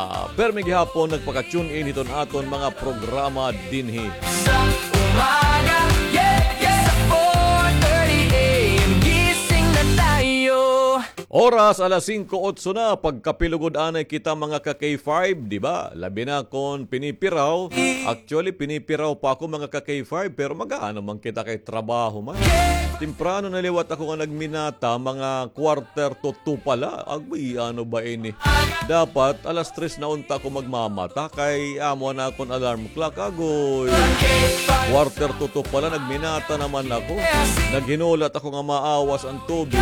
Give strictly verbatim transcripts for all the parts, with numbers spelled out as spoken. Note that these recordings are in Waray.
Ah, permi gihapon nagpaka-tune in hiton aton mga programa dinhi. Sa umaga, yeah, yeah. Sa four thirty A M, gising na tayo. Oras, alas singko otso na, pagkape lugod anay kita, mga ka-K five, di ba? Labi na kon pinipiraw. Actually, pinipiraw pa ako, mga ka-K five, pero mag-aano man kita kay trabaho man. Temprano na liwat ako nga nagminata, mga quarter to two pala. Agay, ano ba ini? Dapat alas tres na unta ako magmamata, kay amo na akon alarm clock, agoy. Quarter to two pala, nagminata naman ako. Naghinulat ako nga maawas an tubig.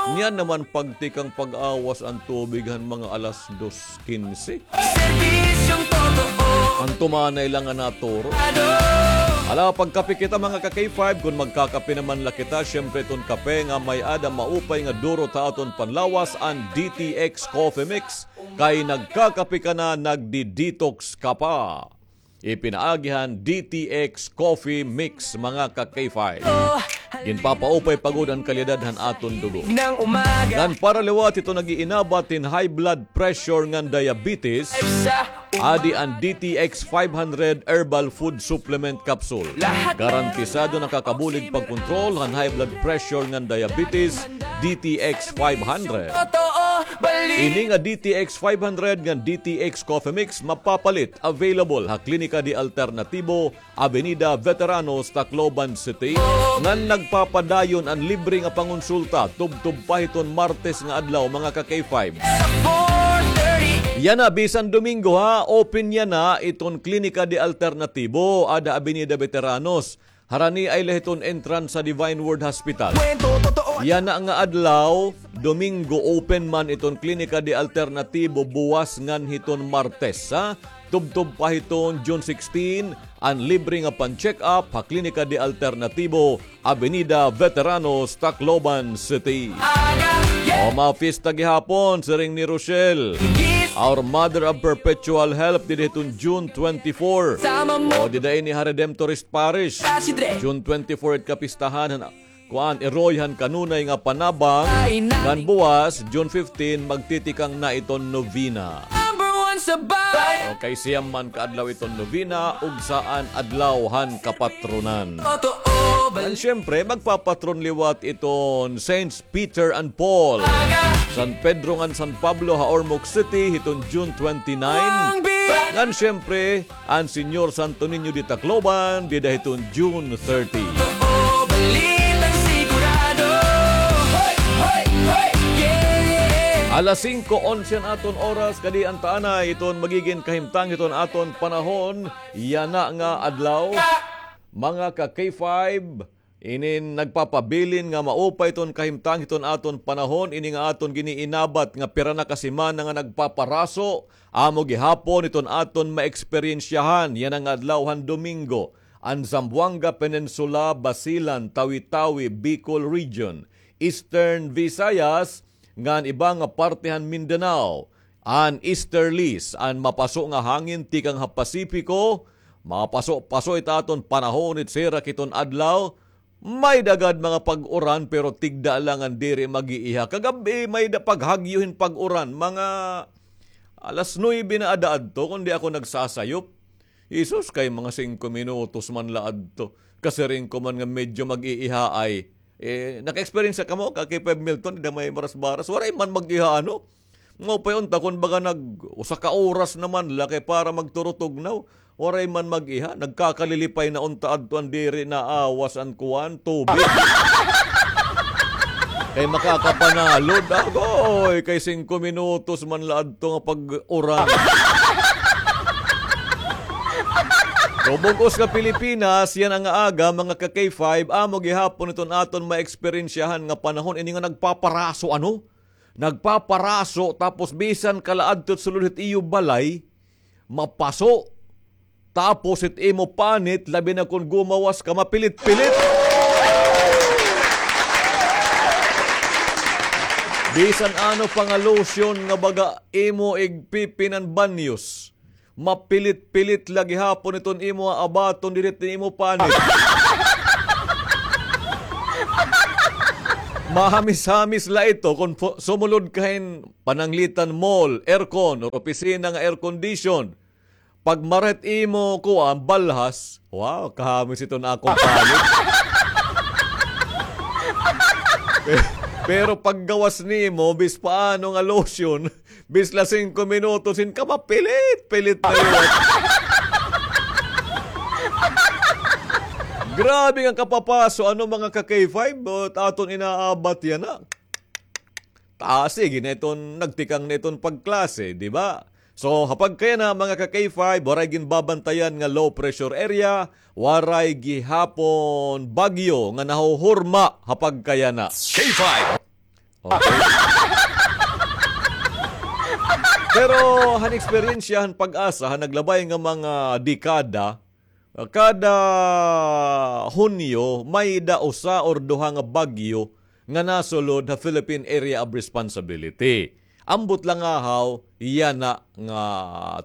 Niyan naman pagtikang pag-awas an tubig han mga alas dos kinse. Serbisyong totoo. An tumanay lang nga naturo. Ala, pagkape kita, mga ka-K five, kon magkakape naman la kita, syempre iton kape nga may-ada maupay nga duro ha aton panlawas, an D T X Coffee Mix. Kay nagkakape ka na, nagdi-detox ka pa. Ipinaagi han D T X Coffee Mix, mga ka-K five. Ginpapaupay pa gud an kalidad han aton dugo. Ngan para liwat hiton nag-iinabat hin high blood pressure ngan diabetes, adi an D T X five hundred Herbal Food Supplement Capsule. Garantisado nakakabulig pagkontrol han high blood pressure ngan diabetes, D T X five hundred. Ini nga D T X five hundred ngan D T X Coffee Mix mapapalit, available ha Klinika de Alternatibo, Avenida Veteranos, Tacloban City, ngan nagpapadayon an libre nga pangonsulta tubtob pa hiton Martes nga adlaw, mga ka-K five. Yana, bisan Domingo, ha, open yana iton Klinika de Alternatibo, ada Avenida Veteranos. Harani ay la hiton entrance sa Divine Word Hospital. Yana nga adlaw, Domingo, open man iton Klinika de Alternatibo buwas ngan hiton Martes, ha? Tubtob pa hiton June sixteen, an libre nga pan-check-up ha Klinika de Alternatibo, Avenida Veteranos, Tacloban City. O, mafiesta gihapon, siring ni Rochelle. Our Mother of Perpetual Help, dida hiton June twenty-four. O, dida ini ha Redemptorist Parish. June twenty-four it kapistahan han, kuan, iroy han kanunay nga panabang. Ngan buwas, June fifteen, magtitikang na iton novena. O, kay siyam man ka adlaw iton novena, ug saan adlaw han kapatronan. Ngan syempre, magpapatron liwat iton Saints Peter and Paul, San Pedro ngan San Pablo ha Ormoc City hiton June twenty-nine. Ngan syempre, an Señor Santo Niño de Tacloban, dida hiton June thirty. Alas singko onse an aton oras, kadi an taanay iton magigin kahimtang hiton aton panahon yana nga adlaw. Mga ka-K five, inin nagpapabilin nga maupay iton kahimtang hiton aton panahon, ini nga aton giniinabat nga pira na ka semana nga nagpaparaso, amo gihapon iton aton maeksperyensyahan yana nga adlaw han Domingo, an Zamboanga Peninsula, Basilan, Tawi-Tawi, Bicol Region, Eastern Visayas, ngan iba nga parte han Mindanao, an easterlies, an mapaso nga hangin tikang ha Pasipiko, mapaso-paso it aton panahon it sirak hiton adlaw, may-ada gad mga pag-uran, pero tigda la ngan diri mag-iiha. Kagab-i, may-ada paghagyo hin pag-uran, mga alas nuebe na ada adto, kon di ako nagsasayop. Jesus, kay mga singko minutos man la adto. Kasiring ko man nga medyo mag-iiha ay. Eh, naka-experience kamo, ka-K five Milton, dida may Marasbaras. Waray man mag-iha, ano? Maupay unta kon baga nag-usa ka oras naman la kay para magturutugnaw. Waray man mag-iha, nagkakalilipay na unta adto an diri naawas an kuan, tubig. Kay makakapanalod, agoy, kay singko minutos man la adto nga pag-uran. So, bug-os nga Pilipinas, yana nga aga, mga ka-K five, amo gihapon iton aton maeksperyensyahan nga panahon, ini nga nagpaparaso, ano? Nagpaparaso, tapos bisan ka la adto sulod hit iyo balay, mapaso. Tapos it imo panit, labi na kon gumawas ka, mapilit-pilit. Bisan ano pa nga lotion nga baga imo igpipin an banyos, mapilit-pilit la gihapon iton imo abaton diri hit imo panit. Mahamis-hamis la ito kon fu-, sumulod ka hin pananglitan mall, aircon, or opisina nga air condition. Pag maret imo kuan, balhas, wow, kahamis iton akon panit. Pe-, pero paggawas nimo, bis paano nga lotion, bis la singko minutos, hin ka mapilit-pilit na liwat. Grabe nga kapapaso, ano, mga ka-K five, but aton inaabat yana. Ta, sige na iton, nagtikang na iton pagklase, di ba? So, ha pagkayana, mga ka-K five, waray ginbabantayan nga low pressure area, waray gihapon bagyo nga nahuhurma ha pagkayana. K five. Okay. Pero han eksperyensya han PAGASA, han naglabay nga mga dekada, kada Hunyo, may-ada usa or duha nga bagyo nga nasulod ha Philippine Area of Responsibility. Ambot la ngahaw yana nga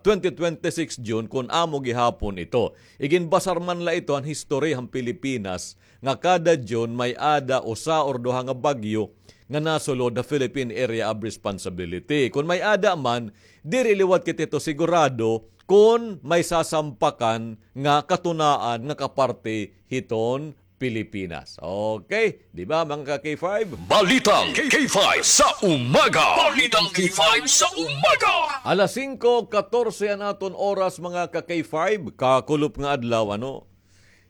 twenty twenty-six June kon amo gihapon ito. Iginbasar man la ito han history han Pilipinas nga kada June may-ada usa or duha nga bagyo nga nasulod ha Philippine Area of Responsibility. Kon may-ada man, diri liwat kita hito sigurado kon may sasampakan nga katunaan nga kaparte hiton Pilipinas. Okay, di ba, mga ka-K five? Balitang K five sa umaga. Balitang K five sa umaga. Alas singko katorse an aton oras, mga ka-K five. Kakulop nga adlaw, ano?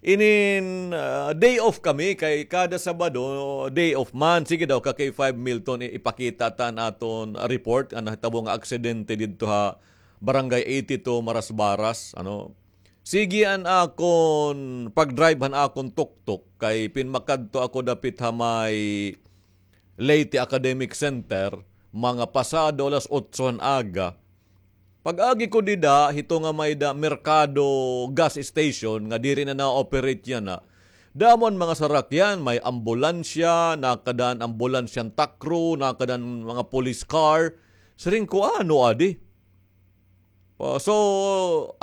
Inin, ah, day off kami kay kada Sabado, day off man. Sige daw, ka-K five Milton, i-, ipakita ta an aton report, an nahitabo nga aksidente didto ha Barangay eighty-two, Marasbaras, ano? Sige an akon pag-drive han akon tuktok kay pinmakadto ako dapit ha may Leyte Academic Center, mga pasado alas otso han aga. Pag-agi ko dida, hito nga may-ada merkado gas station nga diri na na-operate yana. Damo an mga sarakyan, may ambulansya, nakada an ambulansya han Takro, nakada an mga police car. Siring ko, ano adi? O, so,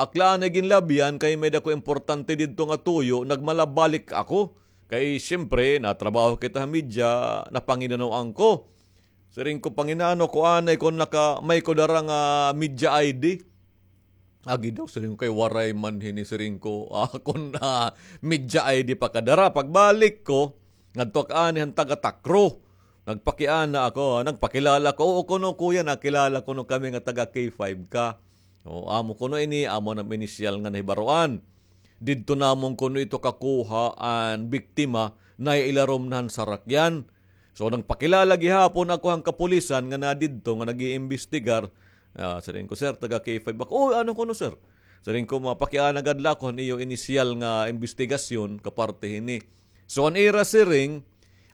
akla anay ginlabyan kay may-ada ko importante didto nga tuyo, nagmalabalik ako. Kay, siyempre, natrabaho kita ha media, napanginanoan ko. Siring ko, panginano ko anay kon naka-, may ko dara nga media I D. Agi daw, siring ko, kay waray man hini, siring ko, ah, kon, ah, media I D pa kadara. Pagbalik ko, ngadto ak anay han taga Takro. Nagpakiana ako, nagpakilala ko. Oo, kuno, kuya, nakilala kuno kami nga taga K five ka. O, amo kuno ini, amo an inisyal nga nahibaroan. Didto namon kuno ito kakuha an biktima, nailarom na han sarakyan. So, nagpakilala gihapon ako han kapulisan nga nadidto nga nag-iimbestigar. Ah, siring ko, "Sir, taga K five ako." "Oh, ano kuno, sir?" Siring ko, "Mapakiana gad la ako han iyo inisyal nga imbestigasyon kaparte hini." So, an ira siring,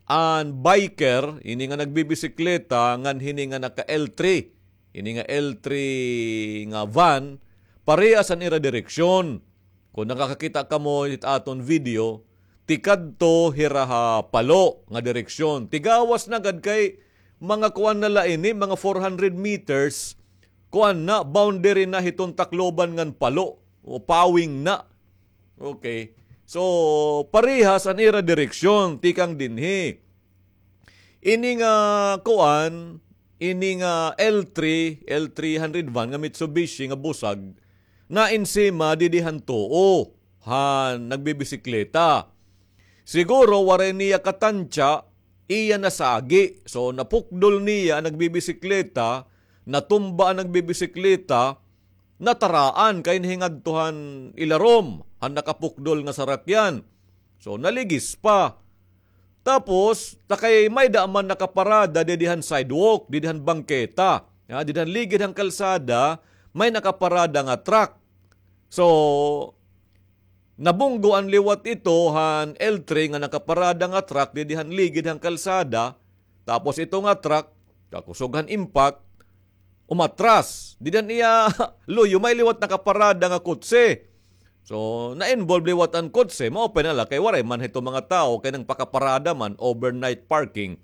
an biker, ini nga nagbibisikleta, ngan hini nga naka L three. Ini nga L three nga van, parehas an ira direksyon. Kon nakakakita kamo hit aton video, tikadto hira ha Palo nga direksyon. Tigawas na gad kay mga kuan na la ini, mga four hundred meters, kuan na, boundary na hiton Tacloban ngan Palo, o Pawing na. Okay. So, parehas an ira direksyon, tikang dinhi. Ini nga kuan, ini nga L three, L three hundred van nga Mitsubishi nga busag, naensima didi han tuo han nagbibisikleta. Siguro waray niya katantya, iya nasagi. So, napukdol niya an nagbibisikleta, natumba an nagbibisikleta, nataraan kay nahingadto han ilarom han nakapukdol nga sarakyan. So, naligis pa. Tapos, ta kay may-ada man nakaparada didi han sidewalk, didi han bangketa. Ya, didi han ligid han kalsada, may nakaparada nga truck. So, nabunggo an liwat ito han L three nga nakaparada nga truck didi han ligid han kalsada. Tapos ito nga truck, kakusog han impact, umatras. Didi han iya luyo, may liwat nakaparada nga kotse. So, na-involve liwat an kotse, maupay na la kay waray man hito mga tawo kay nagpakaparada man, overnight parking.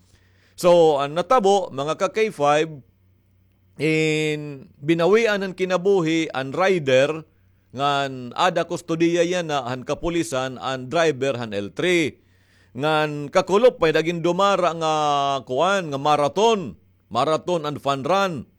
So, an natabo, mga ka-K five, in binawian han kinabuhi an rider ngan ada kustodiya yana han kapulisan an driver han L three. Ngan kakulop, may-ada gindumara nga kuan, nga marathon, marathon and fun run.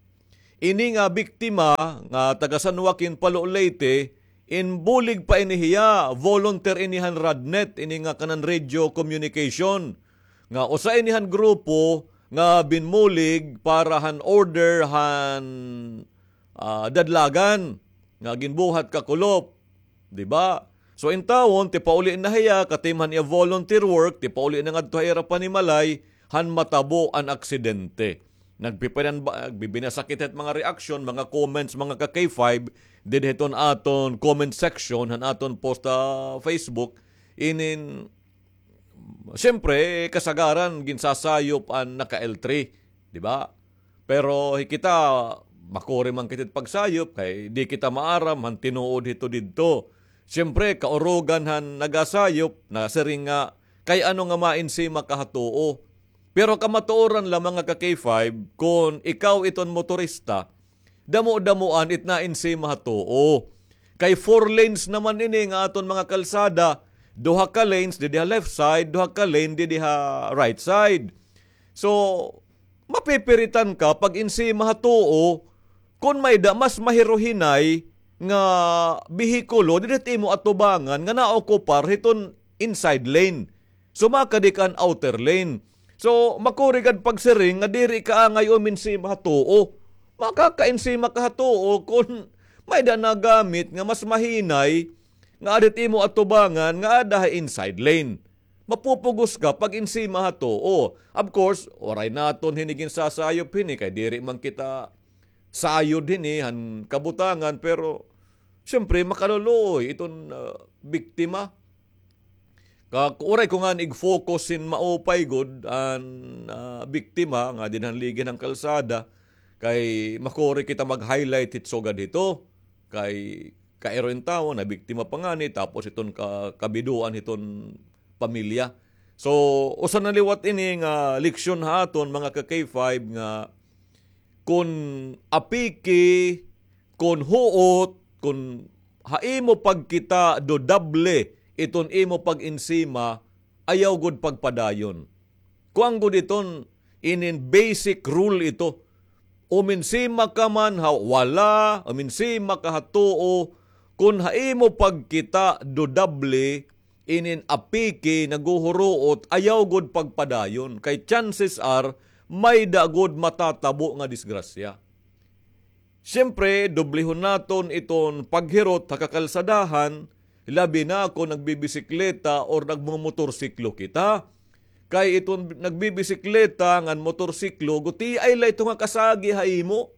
Ini nga biktima nga taga San Joaquin, Palo, Leyte, inbulig pa ini hiya, volunteer ini han RadNet, ini nga kanan radio communication. Nga usa ini han grupo nga binmulig para han order han, ah, dadlagan nga ginbuhat kakulop. Di ba? So, intawon, tipauli na hiya, katim han iya volunteer work, tipauli na ngadto ha ira panimalay, han matabo an aksidente. Nagpipinan ba, nagbibinasakit hit mga reaksyon, mga comments, mga ka-K five, didi hiton aton comment section, han aton post ha Facebook, inin, siyempre, kasagaran, ginsasayop an naka-L three, di ba? Pero hi kita, makuri man kita pagsayop, kay di kita maaram han tinuod hito didto. Siyempre, kaurugan han nagasayop, nasiring nga, kay ano nga mainsima ka ha tuo. Pero kamatuoran la, mga ka-K five, kon ikaw iton motorista, damo-damoan it naensima ha tuo. Kay four lanes naman ini nga aton mga kalsada, duha ka lanes didi ha left side, duha ka lane didi ha right side. So, mapipiritan ka pag-ensima ha tuo kon may-ada mas mahiruhinay nga behikulo didi ha imo atubangan nga naokupar hiton inside lane. So, makadi ka han outer lane. So, makuri gad pagsiring nga diri ka angay umensima ha tuo. Makakaensima ka ha tuo kon may-ada nagamit nga mas mahinay nga aada ha imo atubangan nga aada ha inside lane. Mapupugos ka pag-ensima ha tuo. Of course, waray naton hini ginsasayop hini kay diri man kita sayod hini han kabutangan, pero siyempre, makaluluoy iton, ah, biktima. Ka, uray ko ngani ig-focus hin maupay gud an, ah, biktima nga dinhi han ligi han kalsada, kay makuri kita mag-highlight hit sugad hito. Kay kairo in tawo, nabiktima pa ngani, tapos iton ka-, kabidoan hiton pamilya. So, usa na liwat ini nga leksyon ha aton, mga ka-K five, nga kon apiki, kon huot, kon ha imo pagkita dudable iton imo pag-ensima, ayaw gud pagpadayon. Kuan gud iton, inin basic rule ito. Umensima ka man ha wala, umensima ka ha tuo, kon ha imo pagkita dudable, inin apiki, naghuhuruot, ayaw gud pagpadayon. Kay chances are, may-ada gud matatabo nga disgrasya. Siyempre, dublihon naton iton paghirot ha kakalsadahan, labi na kon nagbibisikleta or nagmomotorsiklo kita. Kay iton nagbibisikleta ngan motorsiklo, gutiay la ito nga kasagi ha imo.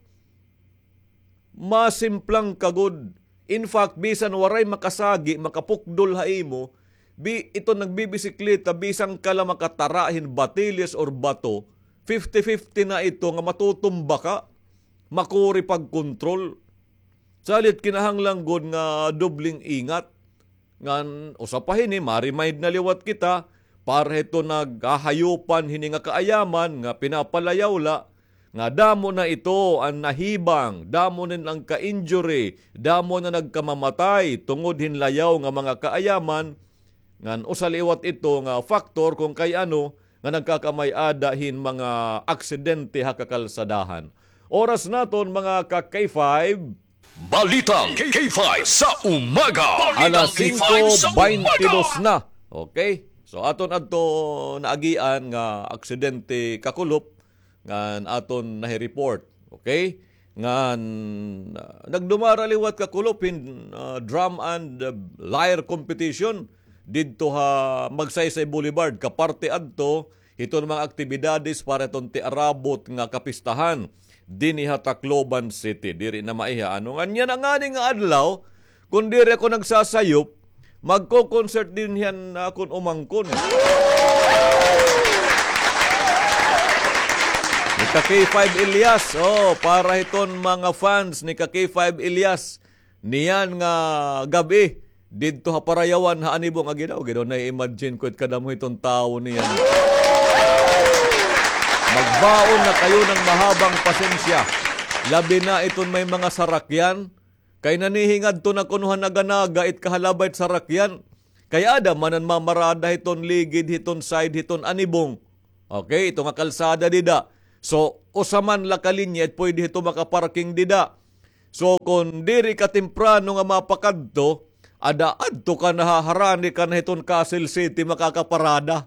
Masimplang ka gud. In fact, bisan waray makasagi, makapukdol ha imo, bi-, iton nagbibisikleta, bisan ka la makatara hin batilis or bato, fifty fifty na ito nga matutumba ka, makuri pagkontrol. Salit kinahanglan gud nga dobleng ingat. Ngan usa pa hini, ma-remind na liwat kita, para hito naghahayopan hini nga kaayaman nga pinapalayaw la, nga damo na ito an nahibang, damo na an ka-injury, damo na nagkamamatay tungod hin layaw nga mga kaayaman, ngan usa liwat ito nga factor kon kay ano nga nagkakamay-ada hin mga aksidente ha kakalsadahan. Oras naton, mga ka-K five. Balitang K five sa umaga. Alas singko baynte dos na. Okay? So, aton adto naagian nga aksidente kakulop ngan aton nahi-report. Okay? Ngan, ah, nagdumara liwat kakulop hin, ah, drum and, ah, lyre competition didto ha Magsaysay Boulevard, kaparte adto hiton mga aktibidades para hiton tiarabot nga kapistahan dinhi ha Tacloban City. Diri na maiha, ano, ngan yana ngani nga adlaw, kon diri ako nagsasayop, magko-concert dinhi an akon umangkon. Ni ka K five Elias, oh, para hiton mga fans ni ka K five Elias, niyan nga gab-i, didto ha Parayawan ha Anibong, agi daw, agi daw, nai-imagine ko it kadamo hiton tawo niyan. Magbaon na kayo ng mahabang pasensya. Labi na iton may mga sarakyan. Kay nanihingadto na kuno ha naga-naga it kahalabay it sarakyan. Kay ada man an mamarada hiton ligid, hiton side, hiton anibong. Okay, ito nga kalsada dida. So, usa man la ka linya it pwede hito makaparking dida. So, kon diri ka temprano nga mapakadto, ada adto ka na ha, harani ka na hiton Castle City makakaparada.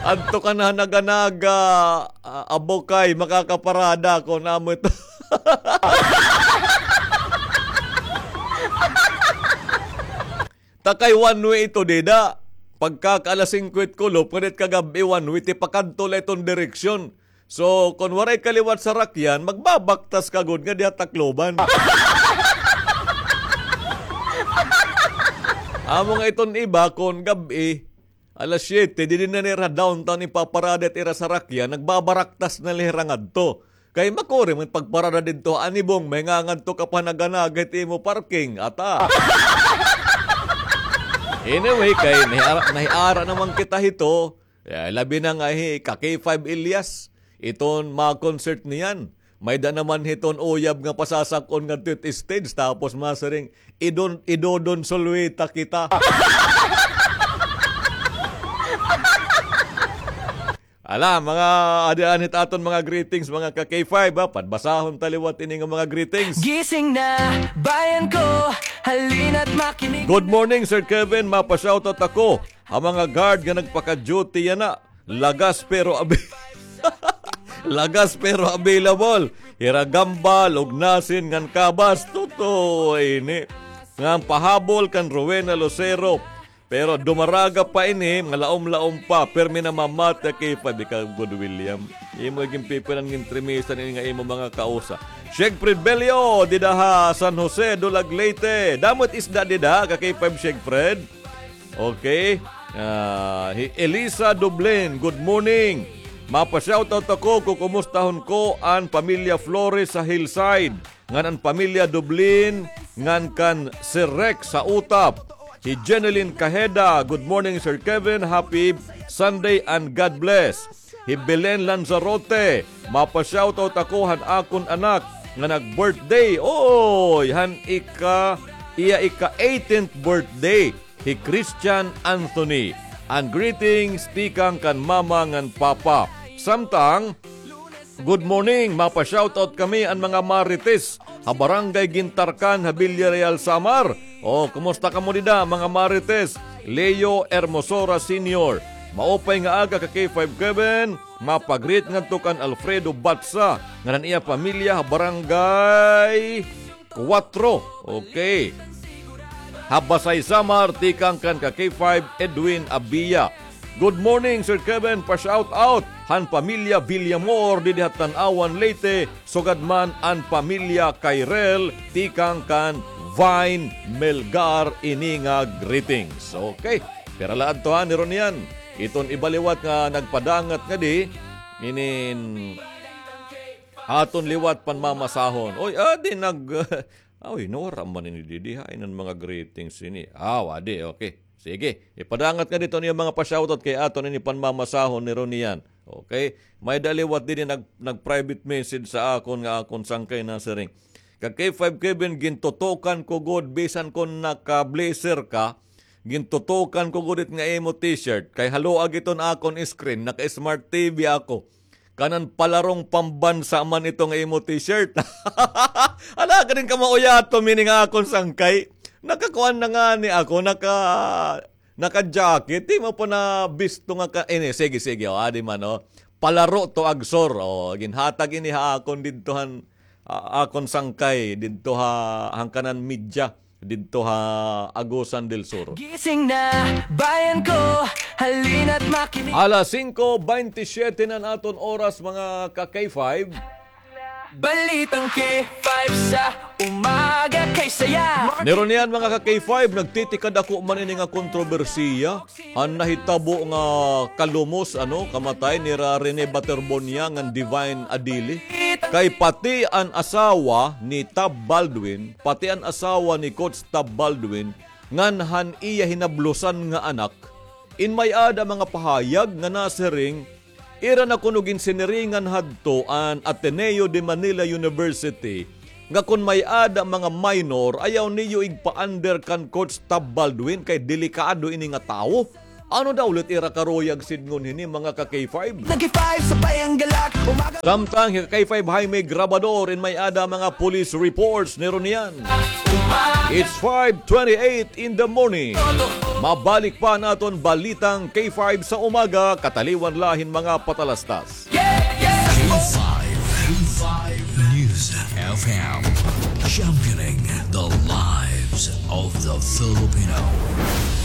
Adto ka na ha Naga-Naga, ah, Abukay, makakaparada kon amo ito. Ta kay one way ito dida. Pagkaka alas singko it kulop, ngan it kagab-i one way, tipakadto la iton direksyon. So, kon waray ka liwat sarakyan, magbabaktas ka gud nga diha Tacloban. Amo nga iton iba, kon gab-i, alas siyete, didi na nira downtown ipaparada it ira sarakyan, nagbabaraktas na la hira ngadto. Kay makuri man pagparada didto ha anibong, mahingangadto ka pa ha Naga-Naga it imo parking, ata. Anyway, kay nahiara, nahiara naman kita hito. Eh, labi na nga hi ka K five Elias, iton ma-concert niyan. May-ada naman hiton uyab nga pasasak-on ngadto it stage, tapos masiring, idon, idodon sulwita kita. Ala, mga adian hit aton mga greetings, mga ka K five, ha? Padbasahon ta liwat ini nga mga greetings. Gising na, bayan ko, halina't makinig. Good morning, Sir Kevin. Mapa-shoutout ako ha mga guard nga nagpaka-duty yana. Lagas pero abi-, lagas pero available. Hira Gamba, Lugnasin, ngan Cabas. Totoo ini. Ngan pahabol kan Rowena Lucero. Pero dumaraga pa ini, nga laom-laom pa, pirmi namamati ha K five, ikaw gud, William. Imo ginpipinan, gintrimisan ini nga imo mga kausa. Siegfried Bello, dida ha San Jose, Dulag, Leyte. Damo it isda dida, ka K five Siegfried. Okay. Ah, hi Elisa Dublin, good morning. Mapa-shoutout ako, kukumustahon ko an pamilya Flores sa Hillside. Ngan an pamilya Dublin, ngan kan Sir Rex sa Utap. Hi Jeneline Cajeda, good morning, Sir Kevin. Happy Sunday and God bless. Hi Belen Lanzarote, mapa-shoutout ako han akon anak nga nag-birthday. Oy, han ika, iya ika-eighteenth birthday. Hi Christian Anthony. And greetings tikang kan mama ngan papa. Samtang, good morning, mapa-shoutout kami an mga Marites ha Barangay Gintarcan ha Villareal, Samar. O, kumusta kamo dida, mga Marites? Leo Hermosora Senior. Maupay nga aga ka K five Kevin. Mapa-greet ngadto kan Alfredo Batsa ngan an iya pamilya ha Barangay Kuwatro. Okay. Ha Basay, Samar, tikang kan ka K five Edwin Abia. Good morning, Sir Kevin. Pa-shout out han pamilya Villamor didi ha Tanauan, Leyte. Sugad man an pamilya Kairel, tikang kan Vine Melgar ini nga greetings. Okay. Pira la adto, ha, ni Ronian. Iton iba liwat nga nagpadangat ngadi, inin aton liwat panmamasahon. Oy, adi nag-, oy, nawara man ini didi, ha, inan mga greetings ini. Ah, wadi, okay. Sige, ipadangat ngadi iton iyo mga pa-shoutout kay aton ini panmamasahon ni Ronian. Okay? May-ada liwat didi nag-, nag-private message sa akon nga akon sangkay nasiring, ka K five Kevin, gintutukan ko gud, bisan kon naka-blazer ka, gintutukan ko gud it nga imo t-shirt. Kay haluag iton akon screen, naka-smart T V ako. Kanan palarong pambansa man ito nga imo t-shirt. Ala, kanin ka mauyato, meaning akon sangkay. Nakakuan na ngani ako, naka, naka-jacket. Di mo pa na bisto nga ka, ini, sige, sige, o, adi man, o. Palaro to, Agsor, o. Ginhatag ini ha akon didto han, a-, akon sangkay, didto ha, han kanan media. Didto ha Agusan del Sur. Gising na, bayan ko, halina't makinig. Alas singko baynte siyete na an aton oras, mga ka K five. Balitang K five sa umaga kay saya. Ni Ronian, mga ka K five, nagtitikadako man ini nga kontrobersiya. An nahitabo nga kalumos, ano, kamatay nira Rene Baterbonia ngan Divine Adili. Kay pati an asawa ni Tab Baldwin, pati an asawa ni Coach Tab Baldwin, ngan han iya hinablosan nga anak, in may-ada mga pahayag nga nasiring, ira na kuno ginsiniringan hadto an Ateneo de Manila University, nga kon may-ada mga minor, ayaw niyo igpa-under kan Coach Tab Baldwin kay delikado ini nga tawo. Ano daw ulit ira karuyag sidngon hini, mga ka-K five? Nag-K five, sabay ang galak, umaga. Samtang ka-K five, Jaime Grabador, in may-ada mga police reports ni Ronian. It's five twenty-eight in the morning. Mabalik pa an aton balitang K five sa umaga, kataliwan la hin mga patalastas. K five, K five News F M, championing the lives of the Filipino.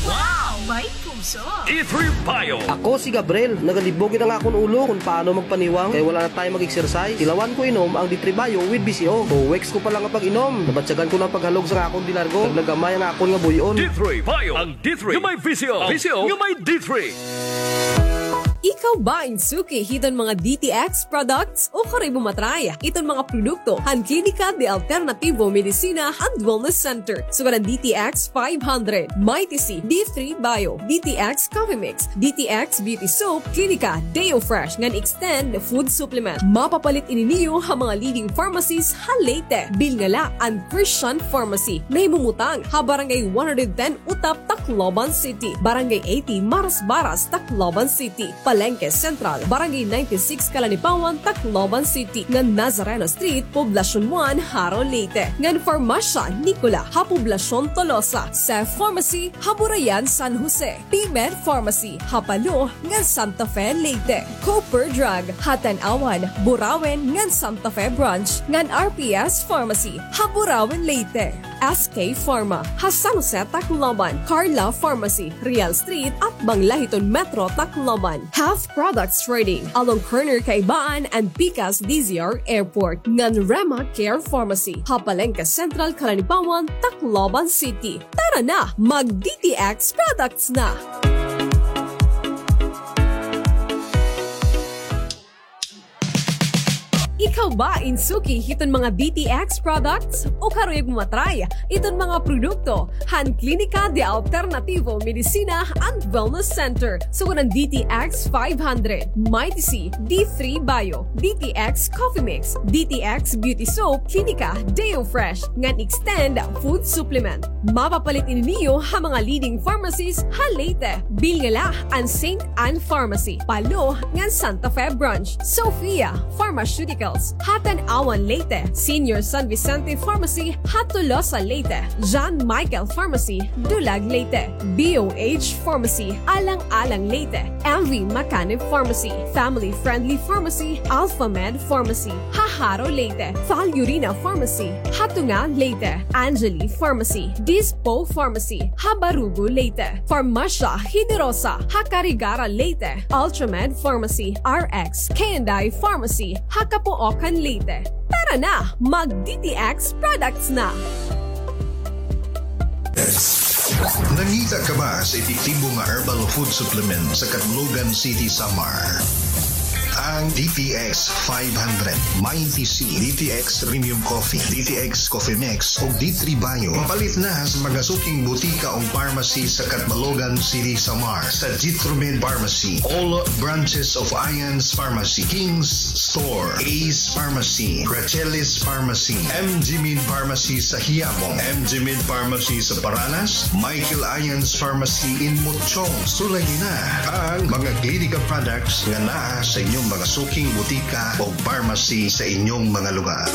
Wow! May puso! D three Bio. Ako si Gabriel, nagalibog it an akon ulo kon paano magpaniwang, kay wala na time mag-exercise. Tilawan ko inom ang D three Bio with B C O. Two weeks ko pa la nga pag-inom, nabatyagan ko na an paghalog sa akon di largo. Nagnagamay an akon nga buy-on. D three Bio, ang D three nga may B C O. B C O nga may D three. Ikaw ba in suki hiton mga D T X products? O karoy mo matry iton mga produkto han Klinika de Alternativo Medicina and Wellness Center, sugad han D T X five hundred, Mighty C, D three Bio, D T X Coffee Mix, D T X Beauty Soap, Klinika, Deo Fresh, ngan Extend Food Supplement. Mapapalit ini niyo ha mga leading pharmacies ha Leyte. Bilnga la an Christian Pharmacy, nahimumutang ha Barangay one hundred ten Utap, Tacloban City, Barangay eighty Marasbaras, Tacloban City, Palengke Central, Barangay ninety-six Calanipawan, Tacloban City, ngan Nazareno Street, Poblacion one, Jaro, Leyte, ngan Farmasya Nicola ha Poblacion Tolosa, Seth Pharmacy ha Burayan, San Jose, P-Med Pharmacy ha Palo ngan Santa Fe, Leyte, Cooper Drug ha Tanauan, Burauen ngan Santa Fe Branch, ngan R P S Pharmacy ha Burauen, Leyte. S K Pharma ha San Jose, Tacloban, Carla Pharmacy, Real Street, atbang la hiton Metro Tacloban, Half Products Trading, along corner Kaibaan and Pikas D Z R Airport, ngan Rema Care Pharmacy ha Palengke Central, Calanipawan, Tacloban City. Tara na, mag D T X products na! Ikaw ba in suki hiton mga D T X products? O karuyag mo matry iton mga produkto han Klinika de Alternativo Medicina and Wellness Center, sugad han D T X five hundred, Mighty C, D three Bio, D T X Coffee Mix, D T X Beauty Soap, Klinika, Deo Fresh, ngan Extend Food Supplement. Mapapalit ini niyo ha mga leading pharmacies ha Leyte. Bilnga la an Saint Anne Pharmacy, Palo, ngan Santa Fe Branch. Sophia Pharmaceuticals ha Tanauan, Leyte. Senior San Vicente Pharmacy ha Tolosa, Leyte. John Michael Pharmacy, Dulag, Leyte. B O H Pharmacy, Alang-alang, Leyte. M V Macanib Pharmacy, Family Friendly Pharmacy, Alpha Med Pharmacy ha Jaro, Leyte. Falurina Pharmacy ha Tunga, Leyte. Angeli Pharmacy, Dispo Pharmacy ha Barugo, Leyte. Farmasya Generosa ha Carigara, Leyte. Ultramed Pharmacy, R X K and I Pharmacy ha Capoocan, Leyte. Tara na, mag D T X products na! Nangita ka ba sa epektibo nga herbal food supplement sa Catbalogan City, Samar? Ang D T X five hundred, Mighty C, D T X Premium Coffee, D T X Coffee Mix, ug D three Bio. Mapalit na sa mga suking butika o pharmacy sa Catbalogan City, Samar, sa Jitromed Pharmacy, all branches of Ian's Pharmacy, King's Store, Ace Pharmacy, Rachelis Pharmacy, M G Med Pharmacy sa Quiapo, M G Med Pharmacy sa Paranas, Michael Ian's Pharmacy in Mutchong. Sulayi na ang mga Klinika products nga naa sa inyong mga suking butika o pharmacy sa inyong mga lugar.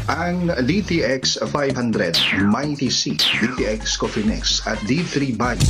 Ang D T X five hundred, Mighty C, D T X Coffee Mix, at D three Bio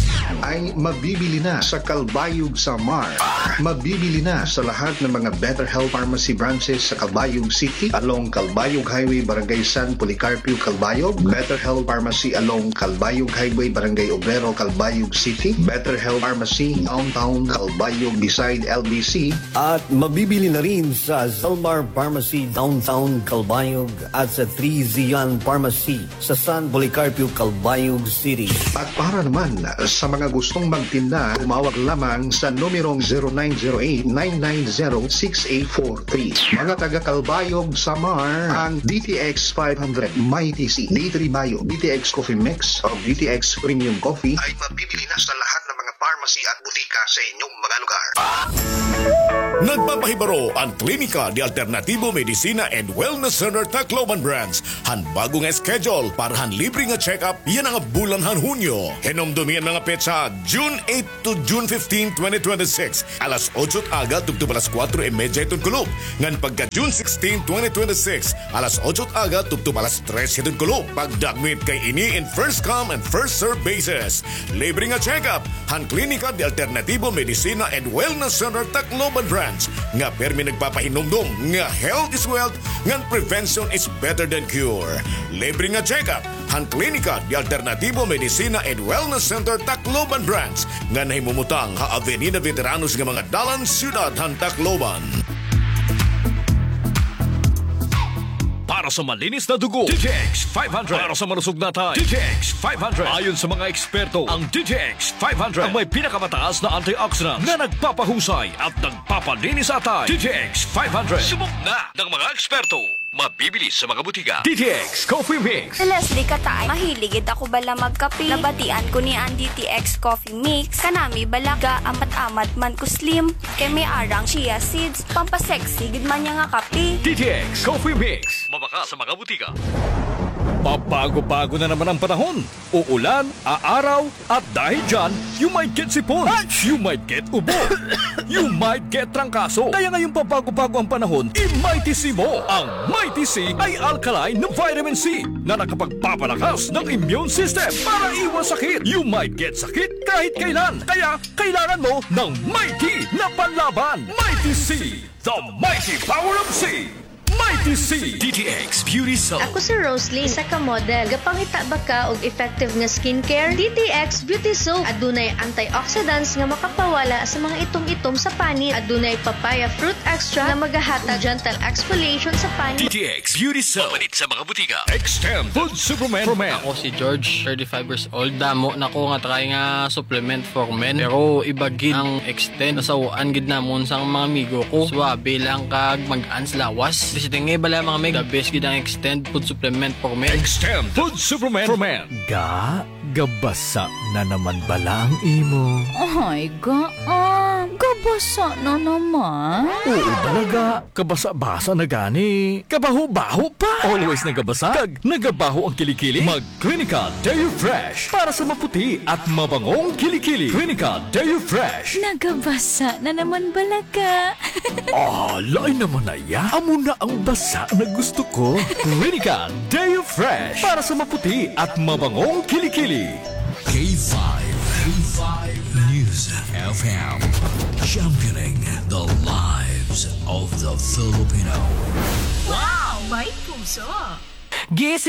ay mabibili na sa Calbayog, Samar. Mabibili na sa lahat ng mga Better Health Pharmacy branches sa Calbayog City, along Calbayog Highway, Barangay San Policarpio, Calbayog, Better Health Pharmacy along Calbayog Highway, Barangay Obrero, Calbayog City, Better Health Pharmacy Downtown Calbayog beside L B C, at mabibili na rin sa Zalmar Pharmacy Downtown Calbayog at sa Three Zian Pharmacy sa San Policarpio, Calbayog City. At para naman sa mga gustong magtinda, tumawag lamang sa numerong zero nine zero eight, nine nine zero, six eight four three. Mga taga Calbayog, Samar, ang D T X five hundred, Mighty C, D three Bio, D T X Coffee Mix, o D T X Premium Coffee ay mabibili na sa lahat ng mga pharmacy Pharmacy at butika sa inyong mga lugar. Nagpapahibaro an Klinika de Alternativo Medicina and Wellness Center Tacloban Branch han bago nga schedule para han libre nga check-up yana nga bulan han Hunyo. Hinumdomi an mga petsa, June eight to June fifteen, twenty twenty-six, alas otso it aga tubtob alas kuwatro y medya hiton kulop, ngan pagka June sixteen, twenty twenty-six, alas otso it aga tubtob alas tres hiton kulop. Pagdakmit kay ini in first come and first serve basis. Libre nga check-up han Klinika de Alternativo Medicina and Wellness Center Tacloban Branch, nga pirmi nagpapahinumdom nga health is wealth ngan prevention is better than cure. Libre nga check-up han Klinika de Alternativo Medicina and Wellness Center Tacloban Branch, nga nahimumutang ha Avenida Veteranos nga mga dalan, siyudad han Tacloban. Para sa malinis na dugo, D T X five hundred. Para sa malusog na atay, D T X five hundred. Ayon sa mga eksperto, ang D T X five hundred ang may pinakamataas na antioxidant na nagpapahusay at nagpapalinis sa atay. D T X five hundred. Subok na ng mga eksperto. Mabibili sa mga butika. D T X Coffee Mix. Si Leslie Kataay, mahilig gid ako bala magkape. Nabatian ko ni an D T X Coffee Mix. Kanami bala, ga-amat-amat man ko slim. Kay may ara an chia seeds. Pampasexy gid man niya nga kape. D T X Coffee Mix. Mabakal sa mga butika. Pabago-bago na naman ang panahon. Uulan, aaraw, at dahil dyan, you might get sipon, you might get ubo, you might get trangkaso. Kaya ngayong pabago-bago ang panahon, i-Mighty C mo. Ang Mighty C ay alkaline na vitamin C na nakapagpapalakas ng immune system para iwas sakit. You might get sakit kahit kailan. Kaya kailangan mo ng Mighty na panlaban. Mighty C, the mighty power of C. Mighty C. D T X Beauty Soap. Ako si Roslyn, isa ka model. Gapangita ba ka og effective nga skincare? D T X Beauty Soap. Adunay antioxidants nga makapawala sa mga itom-itom sa panit. Adunay papaya fruit extract nga magahatag gentle exfoliation sa panit. D T X Beauty Soap. Mapalit sa mga butika. Extend Food Supplement for Men. Ako si George, thirty-five years old. Damo na ko nga try nga supplement for men. Pero iba gid ang Extend. Nasaw-an gid namon sang mga amigo ko. Suwabe lang kag mag-ans lawas. Bisita nga bala mga mig, the best gid ang Extend food supplement for men. Extend food supplement for men. Ga, gabasa na naman bala ang imo? Ay, ga, ah, gabasa na naman. Oo bala, ga. Kabasa-basa na gani. Kabaho-baho pa. Always nagabasa. Kag nagabaho ang kilikili. Mag Clinical Deo Fresh para sa maputi at mabangong kilikili. Clinical Deo Fresh. Nagabasa na naman bala ka. Ah, lain naman na iya. Amo na ang basa na gusto ko. Clinical Deo Fresh para sa maputi at mabangong kilikili. K five, K five News F M, championing the lives of the Filipino. Wow! May puso! Gising